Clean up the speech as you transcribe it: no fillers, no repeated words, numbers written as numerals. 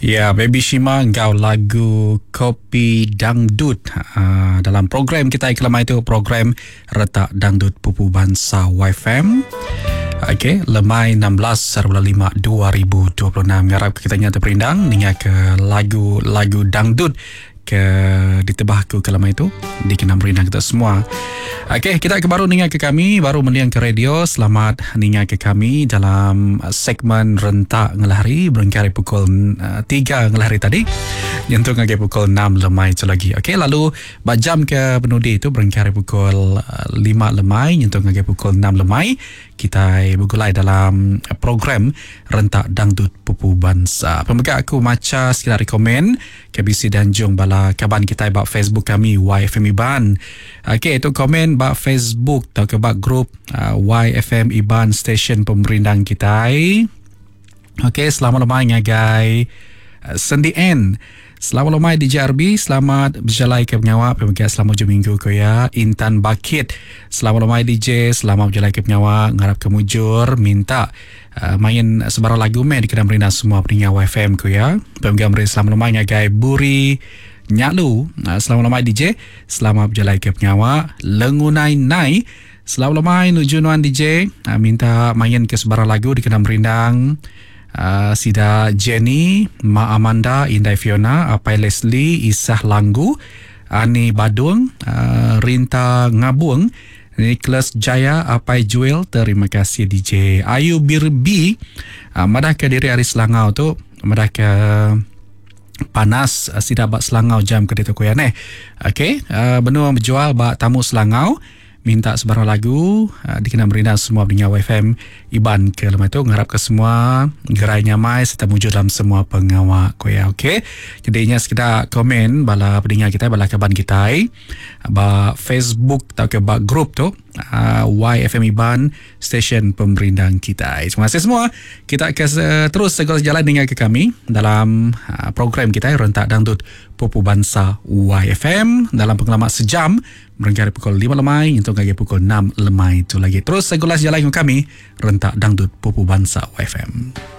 Ya, Baby Shima enggau lagu Kopi Dangdut uh, dalam program kita kelama itu program Retak Dangdut Pupu Bansa YFM. Okey, lemai 16 5 2026 ngarap kita nya terperindang ninga ke lagu-lagu dangdut ke ditebah aku ke lama itu dikena merindang kita semua. Okey, kita ke baru ninga ke kami, baru mending ke radio. Selamat ninga ke kami dalam segmen rentak ngelahari berengkah hari pukul 3 eh, ngelahari tadi. Nyentuk ngagai pukul 6 lemai tu lagi. Okey, lalu ba jam ke penudi itu berengkah hari pukul 5 eh, lemai nyentuk ngagai pukul 6 lemai. Kitai begulai dalam program Rentak Dangdut Pupu Bansa. Pemega aku macha sekeda ari komen ke bisi dianjung bala kaban kitai ba Facebook kami YFM Iban. Okey, tu komen ba Facebook tauka ba grup uh, YFM Iban Station Pemerindang kitai. Okey, selamat lemai ngagai uh, Sendi N. Selamat lemai DJ RB, selamat berjalai ke pengawa pemega selamat ujung minggu ko ya. Intan Bakit. Selamat lemai DJ, selamat berjalai ke pengawa, ngarap ke mujur, minta uh, main sebarang lagu meh dikena merindang semua peninga YFM ko ya. Pemega meri selamat lemai ngagai Buri Nyalu. Uh, selamat lemai DJ, selamat berjalai ke pengawa. Lengunai Nai. Selamat lemai nuju nuan DJ. Uh, minta main ke sebarang lagu dikena merindang. Uh, sida Jenny, Ma Amanda, Indai Fiona, Apai Leslie, Isah Langgu, Ani Badung, uh, Rinta Ngabung, Nicholas Jaya, Apai Juel, terima kasih DJ. Ayu Birbi, uh, madah ke diri ari Selangau tu, madah ke panas uh, sida ba Selangau jam ke ditu ku iya neh. Okey, uh, benung bejual ba tamu Selangau minta sebarang lagu uh, dikena merindang semua pendengar YFM Iban ke lemai tu ngarap ke semua gerai nyamai serta mujur dalam semua pengawa ku iya okey. Jadi nya sekeda komen bala pendengar kitai bala kaban kitai ba Facebook tauka ba group tu uh, YFM Iban stesen pemerindang kitai. Terima kasih semua. Kita ke terus segala jalan dengan ke kami dalam uh, program kita Rentak Dangdut Pupu Bansa YFM dalam pengalaman sejam berengkah dari pukul 5 lemai untuk lagi pukul 6 lemai itu lagi. Terus segala jalan dengan kami Rentak Dangdut Pupu Bansa YFM.